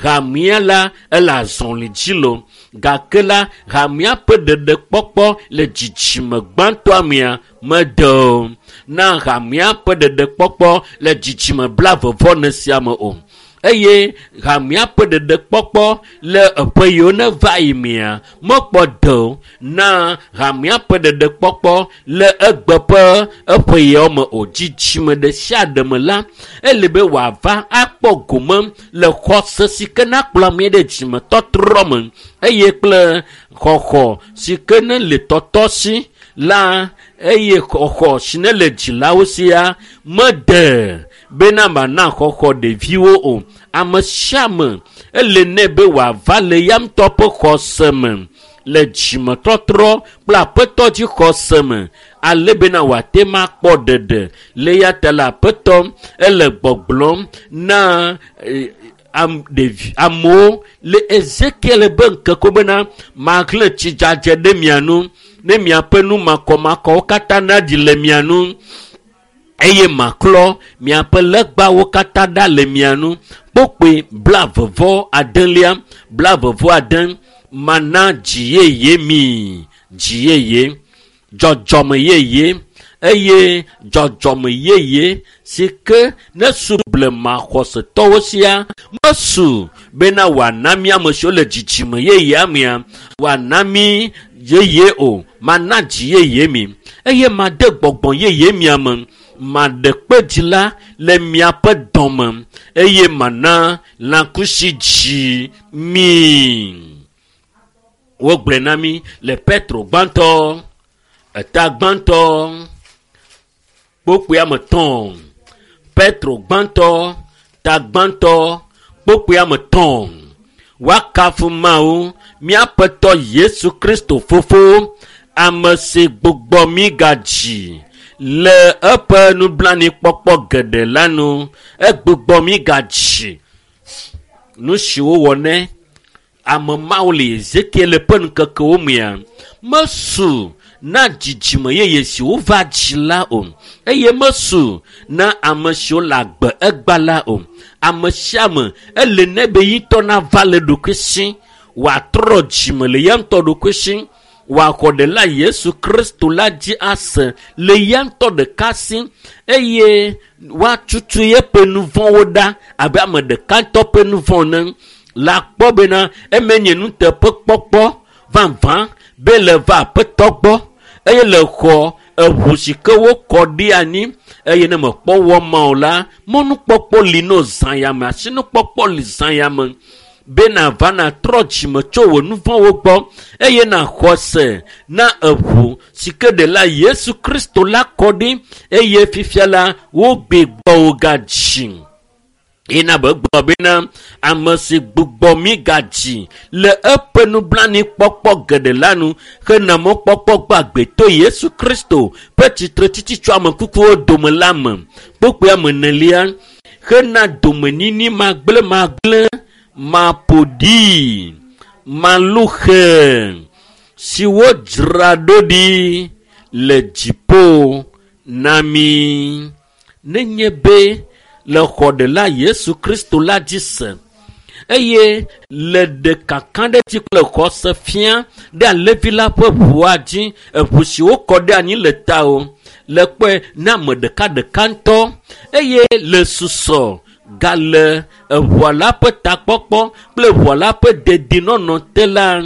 hamea la ele azɔli dzi lo. Gake la hamea ƒe ɖeɖekpɔkpɔ le dzidzime gbãtɔa mea mede o. Na hamea ƒe ɖeɖekpɔkpɔ le dzidzime blaeve-vɔ-ene sia me o. Eye hamea ƒe ɖeɖekpɔkpɔ le eƒe yiwo ne va yi mea mekpɔ de o. Na hamea ƒe ɖeɖekpɔkpɔ le egbe ƒe eƒe yawo me o. Dzidzime ɖe sia ɖe me la, ele be wòava akpɔ gome le xɔse si ke nakplɔ ame ɖe dzimetɔtrɔ me eye kple xɔxɔ si ke ne le tɔtɔ si la eye xɔxɔ si ne le dzilawo sia mede bena mana xɔxɔ ɖeviwo o. Ame sia ame ele nɛ be wòava le ya ŋutɔ ƒe xɔse me le dzimetɔtrɔ kple aƒetɔ dzi xɔse me ale bena wòate ŋu akpɔ ɖeɖe. Le eya ta le aƒetɔ ele gbɔgblɔm na amewo le Ezekiel be ŋkeke bena maxlẽ tsidzadze ɖe mia nu ne miaƒe nu makɔmakɔwo katã naɖi le mia nu eye maklɔ miaƒe legbawo katã ɖa le mia nu. Kpokpoe 29, 29 mana dzi yeye mi, dzi yeye, dzɔdzɔme yeye eye dzɔdzɔme yeye si ke ne su blema xɔsetɔwo sia mesu bena wòana mí ame siwo le dzidzime yeyea mea wòana mí yeye o. Mana dzi yeye mi eye made gbɔgbɔ yeye mia me, maɖe kpe dzi la le miaƒe dɔme eye mana lãkusi dzi mi. Wogblɔe na mí le Petro gbãtɔ, eta gbãtɔ, kpokpoe ame etɔ̃. Petro gbãtɔ, ta gbãtɔ, kpokpoe ame etɔ̃. Woakafu Mawu, míaƒetɔ Yesu Kristo fofo, ame si gbugbɔ mí gadzi le eƒe nublanuikpɔkpɔ geɖe la nu. Egbugbɔ mí gadzi. Nu si wowɔ nɛ ame mawo le Ezekiel ƒe ŋkekewo mea mesu na dzidzime yeye si wova dzi la o eye mesu na ame siwo le agbe egba la o. Ame sia ame ele nɛ be yitɔ nava le ɖokui si, wòatrɔ dzime le ya ŋutɔ ɖokui si, wòaxɔ ɖela Yesu Kristo la dzi ase le ya ŋutɔ ɖeka si eye woatutu yeƒe nu vɔ̃wo ɖa abe ame ɖeka ŋutɔ ƒe nu vɔ̃ ene. La kpɔ bena eme nye nuteƒekpɔkpɔ vavã be le va aƒetɔ gbɔ eye le xɔ eʋu si ke wokɔ ɖi anyi eye ne mekpɔ wɔ ma o la, mɔnukpɔkpɔ li no zã ya me, asinukpɔkpɔ li zã ya me be nava natrɔ dzime tso wò nu vɔ̃wo gbɔ eye naxɔ se na eʋu si ke ɖela Yesu Kristo la kɔ ɖi eye fifia la wogbe gbɔwò gadzi. Ena be gblɔ bena ame si gbugbɔ mí gadzi le eƒe nublanuikpɔkpɔ geɖe la nu hena mɔkpɔkpɔ gbagbe to Yesu Kristo ƒe tsitretsitsi tso ame kukuwo dome la me. Kpokpoe ame enelia hena domenyinyi magblẽmagblẽ, maƒoɖi, maluxe si wodzra ɖo ɖi le dziƒo na mí. Nenye be le xɔ ɖela Yesu Kristo la dzi se eye le ɖekaka ɖe dzi kple xɔse fia ɖe alẽvi la ƒe ʋua dzi, eʋu si wokɔ ɖe anyi le ta o, le kpɔe na ame ɖeka ɖeka ŋutɔ eye le susɔ Gale eʋua la ƒe takpɔkpɔ kple ʋua la ƒe dedinɔnɔ te la,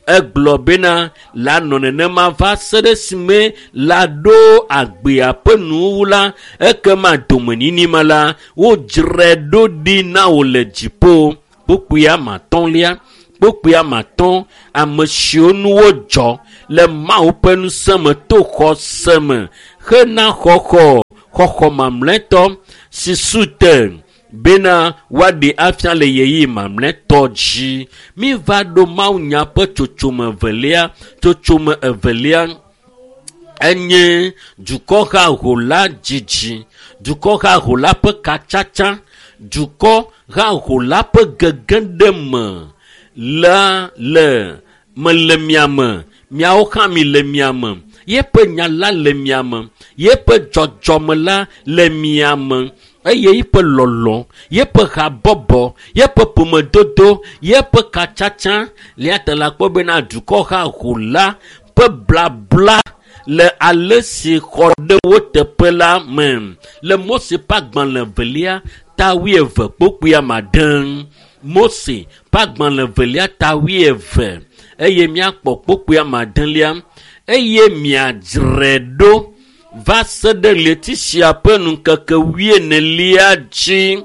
egblɔ bena la nɔ nenema va se ɖe esime la ɖo agbea ƒe nuwuwu la, ekema domenyinyi ma la, wodzrae ɖo ɖi na wò le dziƒo. Kpukpui amatɔ̃lia, kpukpui amatɔ̃, ame siwo nu wodzɔ le Mawu ƒe ŋusẽ me to xɔse me hena xɔxɔ, xɔxɔ mamlɛtɔ si su te bena woaɖe afia le ɣeyiɣi mamlɛtɔ dzi. Míva ɖo mawunya ƒe tsotsome evelia. Tsotsome evelia enye dukɔ haho la dzidzi, dukɔ haho la ƒe katsatsa, dukɔ haho la ƒe gege ɖe me la le me le miame, miawo hã mi le miame, yeƒe nya la le miame, yeƒe dzɔdzɔme la le miame, eye yeƒe lɔlɔ, yeƒe habɔbɔ, yeƒe ƒomedodo, yeƒe katsatsa lia te la kpɔ bena dukɔ haho la ƒe blabla le ale si xɔ ɖe wo teƒe la me. Le Mose ƒe agbalẽ evelia ta wuieve kpukpui ame. Mose ƒe agbalẽ evelia ta wuieve eye míakpɔ kpukpui ame adelia eye miadzrae ɖo va se ɖe ɣleti sia ƒe ŋkeke wuienelia dzi.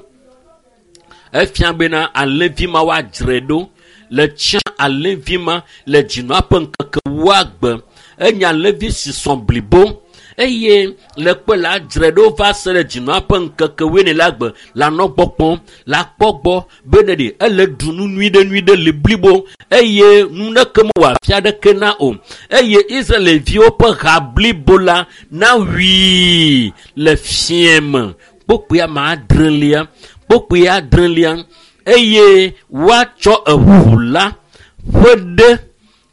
Efia bena alẽvi ma woadzrae ɖo le tsã alẽvi ma le dzinua ƒe ŋkeke wuagbe. Enye alẽvi si sɔ blibo eye le kpe la dzrae ɖo va se ɖe dzinua ƒe ŋkeke wuienelia gbe la nɔ gbɔ kpɔm, la kpɔ gbɔ bene ɖe ele ɖu nu nyui ɖe nyui ɖe le blibo eye nu ɖeke mewɔ afi aɖeke na o. Eye Israelviwo ƒe ha blibo la nawui le fiẽ me. Kpukpui ame adrelia, kpukpui adrelia eye woatsɔ eʋu la ƒe ɖe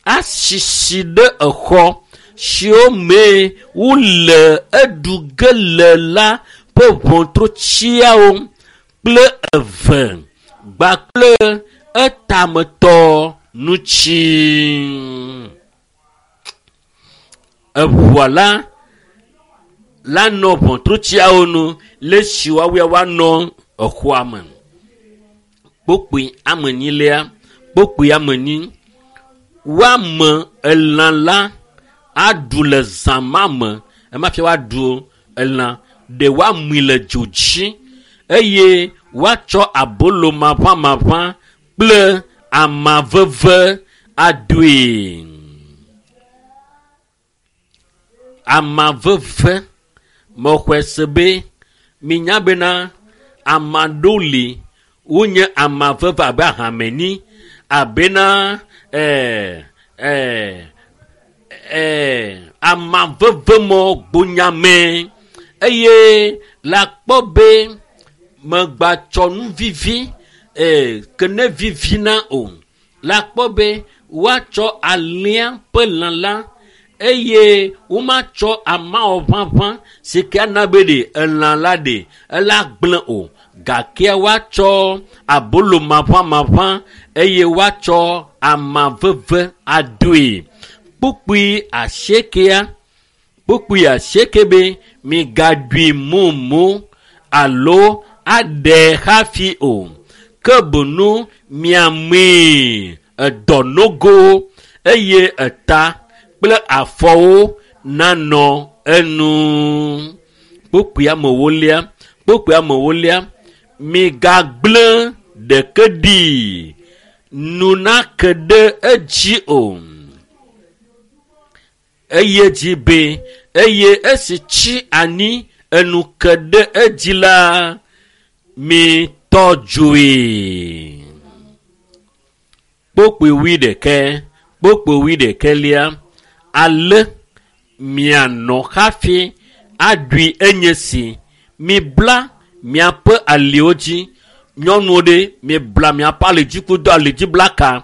asisi ɖe exɔ siwo me wole eɖu ge le la ƒe ʋɔtrutsiawo kple eve kpakple etametɔ ŋuti. Eʋua la la nɔ ʋɔtrutsiawo nu le esi woawoe woanɔ exɔa me. Kpukpui ame enyilia, kpukpui ame enyi, woame elã la aɖu le zã ma me. Ema fia woaɖu elã ɖe woamui le dzo dzi eye woatsɔ abolo maʋamaʋã kple ama veve adoe. Ama veve mexɔe se be minya bena ama ɖewo li wonye ama veve abe ahameni abena ama veve mɔ gbonyame eye la kpɔ be megbatsɔ nu vivi ke ne vivina o. La kpɔ be woatsɔ alẽa ƒe lã la eye womatsɔ amawɔ ʋaʋã si ke ana be ɖe elã la ɖe ela gblẽ o. Gake woatsɔ abolo maʋamaʋã eye woatsɔ ama veve adoe. Kpukpui asiekea, kpukpui asieke be migaɖui mumu alo aɖe hafi o. Ke boŋu miamee edɔ nogo eye eta kple afɔwo nanɔ enu. Kpukpui amewolia, kpukpui amewolia, migagblẽ ɖeke ɖi nu nake ɖe edzi o. Eye dzi be eye esi tsi anyi enu ke ɖe edzi la, mitɔ dzoe. Kpukpui wuiɖekɛ, kpukpui wuiɖekɛlia, ale mianɔ hafi aɖui enye si mibla miaƒe aliwo dzi. Nyɔnuwo ɖe mibla miaƒe ali dzi kudo ali dzi blaka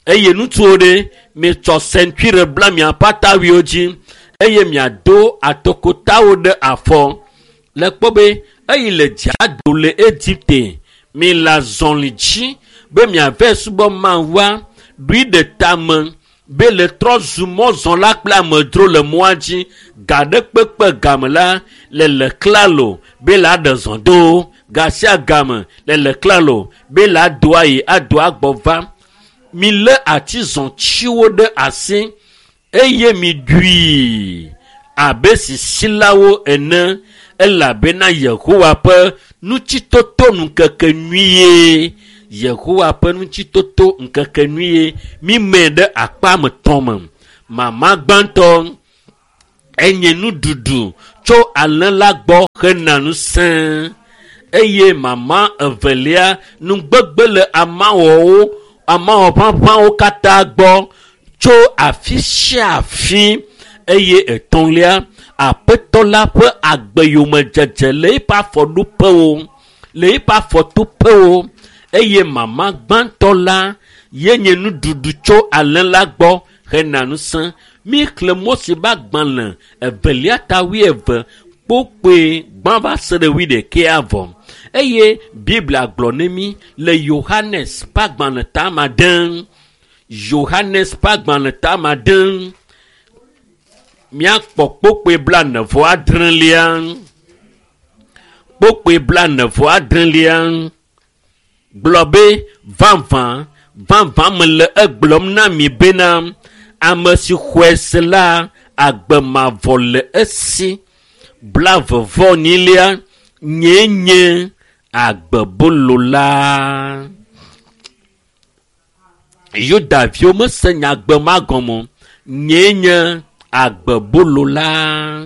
eye ŋutsuwo ɖe mitsɔ sentire bla miaƒe atawuiwo dzi eye miado atokotawo ɖe afɔ. Le kpɔ be eyi le dzia do le Egipte mi le azɔli dzi be miave subɔ Mawua ɖui ɖe tame. Be le trɔ zu mɔzɔla kple amedzro le mɔa dzi ga ɖe kpekpe game la le le klalo be la ɖe zɔ do ga sia game le le klalo be la do ayi ado agbɔ va. Mi lé atizɔtiwo ɖe asi eye mi ɖui abe sisilawo ene elabena Yehowa ƒe nutsitoto ŋkeke nyuie. Yehowa ƒe nutsitoto ŋkeke nyuie. Mi me ɖe akpa me tɔn me. Mama gbãtɔ enye nuɖuɖu tso alẽ la gbɔ hena ŋusẽ eye mama evelia nugbegbe le amawɔwo amawɔ ʋaʋãwo katã gbɔ tso afi sia afi eye etɔ̃lia aƒetɔ la ƒe agbeyomedzedze le eƒe afɔɖoƒewo le eƒe afɔtoƒewo eye mama gbãtɔ la yenye nuɖuɖu tso alẽ la gbɔ hena ŋusẽ. Mi xlẽ Mose ƒe agbalẽ evelia ta wuieve kpokpoe gbã va se ɖe wuiɖekɛa vɔ eye Biblia gblɔ ne mi le Yohanes ƒe agbalẽ ta ma ɖe Yohanes ƒe agbalẽ ta ma ɖe míakpɔ kpokpoe 46 kpokpoe 46 gblɔ be vavã vavã mele egblɔm na mi bena ame si xɔe se la agbe mavɔ le esi. 42 nyee nye agbebolo la. Yudaviwo mese nyagbe ma gɔme o. Nyee nye agbebolo la.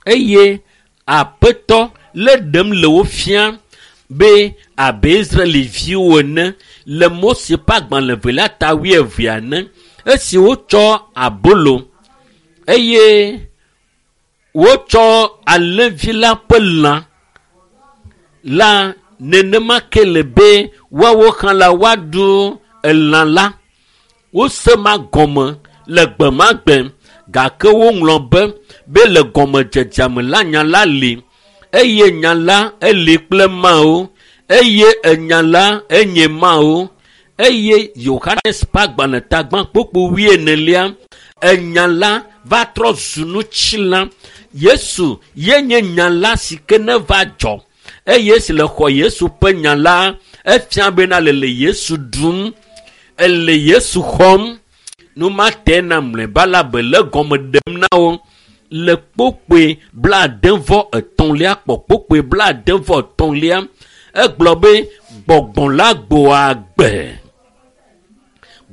Eye aƒetɔ le ɖem le wo fia be abe Israeliviwo ene le Mose ƒe agbalẽ evelia ta wuievea ene esi wotsɔ abolo eye wotsɔ alẽvi la ƒe lã la nenema ke le be woawo hã la woaɖu elã la. Wose ma gɔme le gbe ma gbe gake woŋlɔ be le gɔmedzedzea me la nya la li eye nya la eli kple Mawu eye enya la enye Mawu eye Yohanes ƒe agbalẽ ta gbã kpokpo wuienelia enya la va trɔ zu nutsila. Yesu yenye nya la si ke ne va dzɔ eye si le xɔ Yesu ƒe nya la efia bena le le Yesu ɖum ele Yesu xɔm. Nu ma te na mlɔeba la be le gɔme ɖem na wo le kpokpoe 73 kpɔ kpokpoe 73 egblɔ be gbɔgbɔ la gbɔa agbe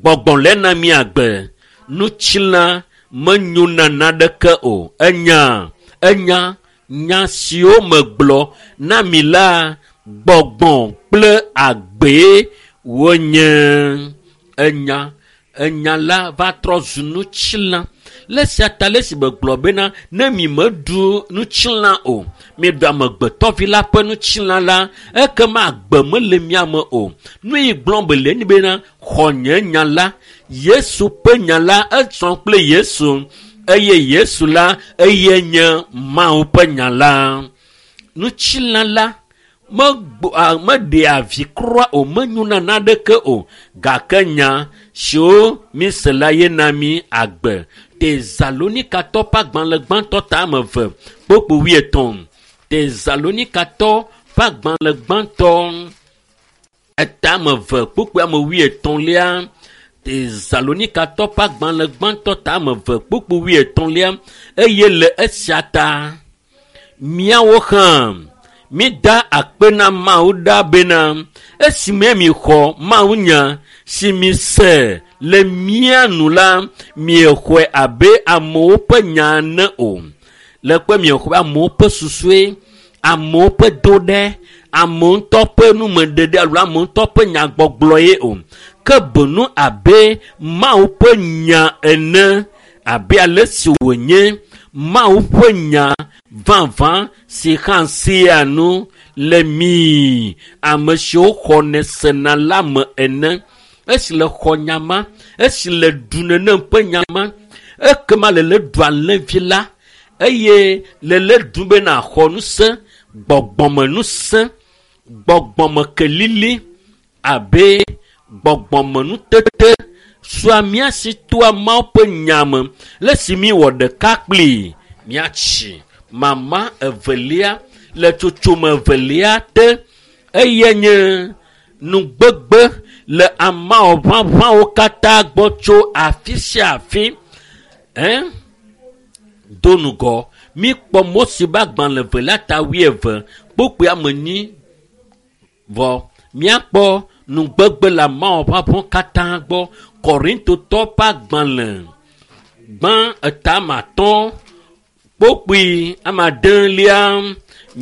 gbɔgbɔ le na mi agbe nutsila menyo na naneke o. Enya enya nya siwo megblɔ na mi la gbɔgbɔ kple agbee wonye. Enya enya la va trɔ zu nutsila. Le sia ta le si megblɔ bena ne mi meɖu nutsila o miɖu amegbetɔvi la ƒe nutsila la ekema agbe mele mia me o. Nu yi gblɔm be le ni bena xɔ nye nya la Yesu ƒe nya la etsɔ kple Yesu eye Yesu la eye nye Mawu ƒe nya la. Nutsila la meɖea vi kura o menyona naneke o gake nya siwo mise la ye na mi agbe. Tesalonikatɔ ƒe agbalẽ gbãtɔ ta ame eve kpokpo wuietɔ̃. Tesalonikatɔ ƒe agbalẽ gbãtɔ eta ame eve kpokpo ame wuietɔ̃lia. Tesalonikatɔ ƒe agbalẽ gbãtɔ ta ame eve kpokpo wuietɔ̃lia eye le esia ta míawo hã mida akpe na Mawu ɖa bena esime mixɔ Mawu nya si mise le mía nu la miexɔe abe amewo ƒe nya ene o. Le kpe miexɔe amewo ƒe susue, amewo ƒe do ɖe, amewo ŋutɔ ƒe numeɖeɖe alo amewo ŋutɔ ƒe nyagbɔgblɔ ye o. Ke benu abe Mawu ƒe nya ene abe ale si wònye Mawu ƒe nya vavã si hã sea nu le mi ame siwo xɔnɛ sena la me ene. Esi le xɔ nya ma, esi le ɖu nenem ƒe nya ma, ekema le le ɖu alẽvi la eye le le ɖu bena xɔ ŋusẽ, gbɔgbɔmeŋusẽ, gbɔgbɔmekelili abe gbɔgbɔmenutete sua mía si toa Mawu ƒe nya me le si míwɔ ɖeka kplii míatsi mama evelia le tsotsome evelia te eye nye nugbegbe le amawo ʋaʋãwo katã gbɔ tso afi sia afi ɛ do ŋgɔ míkpɔ Mose ƒe agbalẽ evelia ta wuieve kpukpui ame enyi vɔ míakpɔ nugbegbe le amawo ʋaʋãwo katã gbɔ Korintotɔ ƒe agbalẽ gbã etame atɔ̃ kpukpui ame adelia.